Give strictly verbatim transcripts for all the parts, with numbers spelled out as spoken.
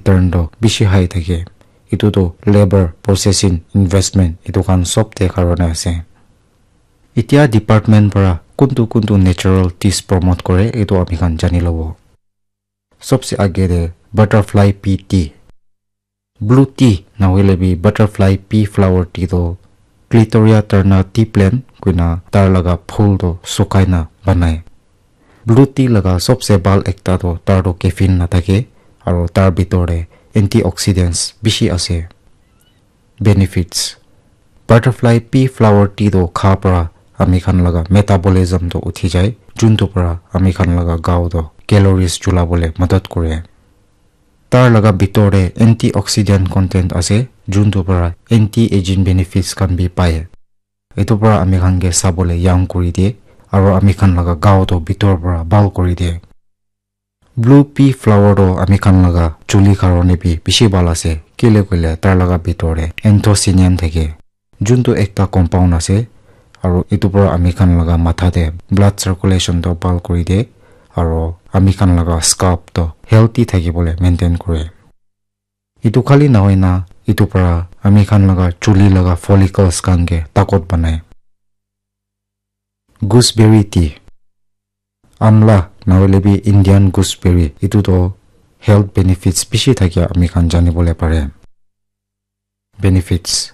return toh bishi high thake. Etu toh labour, processing, investment etu khan sob te karone ase. Etia department para kuntu kuntu natural teas promote kore etu ami khan jani lobo. Sobse age te butterfly pea tea. Blue tea nahoile bi butterfly pea flower tea toh Clitoria terna tea plant koina tar laga phul toh sukai na banai. Blue tea laga sobse bhal ekta toh tar toh caffeine nathake aro tar bitor te antioxidants bishi ase. Benefits. Butterfly pea flower tea toh kha para ami khan laga metabolism toh uthi jai, juntu para ami khan laga gao toh calories chula bole madad kore. Tar laga bitor te antioxidant content ase, juntu para anti-aging benefits khan bi pai. Etu para ami khan ke sabole young kuri diye, aro ami khan laga gao toh bitor para bhal kuri diye. Blue pea flower toh ami khan laga chuli karone bi bishi bhal ase, kile koile tar laga bitor te anthocyanin thake, juntu ekta compound ase, aro etu para ami khan laga matha te blood circulation toh bhal kuri diye, aro ami khan laga scalp toh healthy thaki bole maintain kore. Etu khali nahoi na, etu para ami khan laga chuli laga follicles khan ke takot banai. Gooseberry tea. Amla, nahoile bi Indian gooseberry, etu toh health benefits bishi thakia ami khan jani bole pare. Benefits.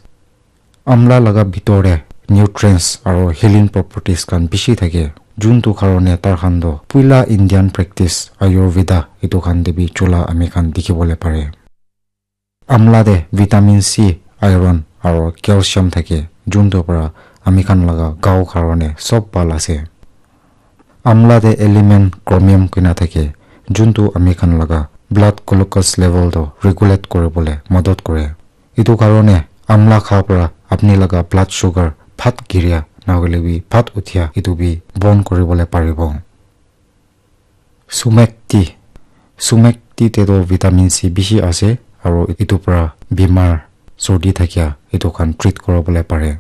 Amla laga bitor te nutrients aro healing properties khan bishi thake, juntu karone tar khan toh puila Indian practice Ayurveda etu khan te bi chula ami khan dikhi bole pare. Amla te vitamin C, iron aro calcium thake, juntu para ami khan laga gao karone sob bhal ase. Amla te element chromium koina thake, juntu ami khan laga blood glucose level toh regulate kuri bole madad kore. Etu karone amla kha para apni laga blood sugar phat giria nahoile bi phat uthia etu bi bon kuri bole paribo. Sumac tea. Sumac tea te toh vitamin C bishi ase, aro etu para bimar sordi thakia etu khan treat kuri bole pare.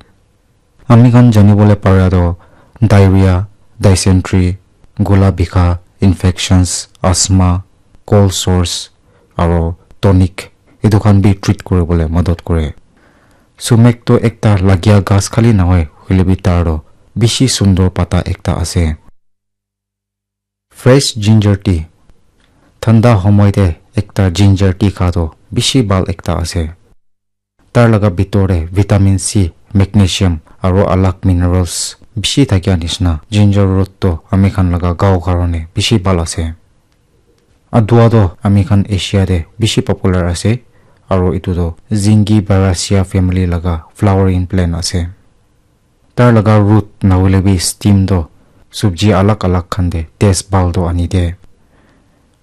Ami khan jani bole para toh diarrhea, dysentery, gola bikha, infections, asthma, cold sores, aro tonic etu khan bi treat kuri bole madad kore. Sumac toh ekta lagia ghas khali nahoi, hoile bi tar toh bishi sundor pata ekta ase. Fresh ginger tea. Thanda homoi te ekta ginger tea kha toh bishi bhal ekta ase. Tar laga bitor te vitamin C, magnesium aro alag minerals bishi thakia nishina ginger root toh ami khan laga gao karone bishi bhal ase. Adua toh ami khan Asia te bishi popular ase, aro etu toh Zingiberaceae family laga flowering plant ase. Tar laga root nahoile bi stem toh subji alag alag khan te taste bhal toh ani de.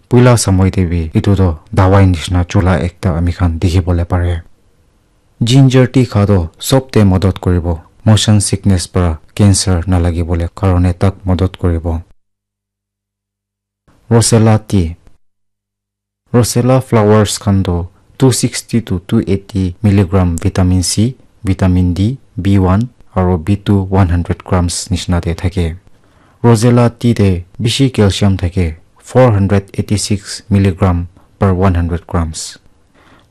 Puila samoi te bi etu toh dawai nishina chula ekta ami khan dikhi bole pare. Ginger tea kha toh sob te madad koribo, motion sickness para cancer nalagi bole karone tak madad koribo. Rosella tea. Rosella flowers khan toh two sixty to two eighty milligram vitamin C, vitamin D, B one aro B two one hundred grams nishina te thake. Rosella tea te bishi calcium thake, four hundred eighty six milligram per one hundred grams.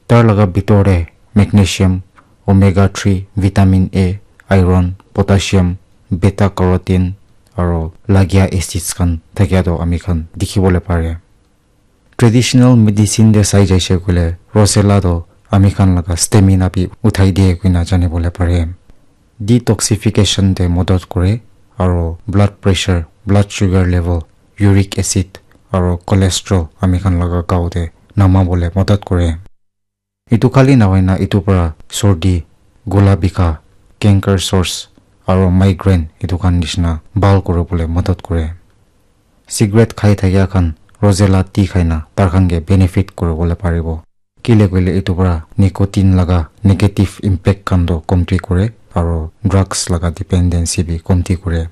Tar laga bitor te magnesium, omega three, vitamin A, iron, potassium, beta carotene aro lagia acids khan thakia toh ami khan dikhi bole pare. Traditional medicine te sai jaise koile rosella toh ami khan laga stamina bi uthai diye koina jani bole pare. Detoxification te madad kore aro blood pressure, blood sugar level, uric acid aro cholesterol ami khan laga gao te nama bole madad kore. Etu khali nahoi na etu para sordi, gola bikha, canker sores aro migraine etu khan nishina bhal kuri bole madad kore. Cigarette khai thakia khan rosella tea khai na tar khan ke benefit kuri bole paribo. Kile koile etu para nicotine laga negative impact khan toh komti kore aro drugs laga dependency bi komti kore.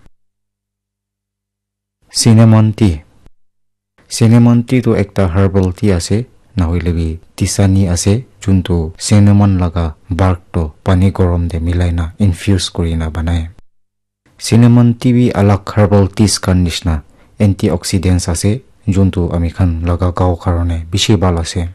Cinnamon tea. Cinnamon tea toh ekta herbal tea ase, nahoile bi tisani ase, juntu cinnamon laga bark toh pani gorom te milai na infuse kuri na banai. Cinnamon tea bi alag herbal teas khan nishina antioxidants ase, juntu ami khan laga gao karone bishi bhal ase.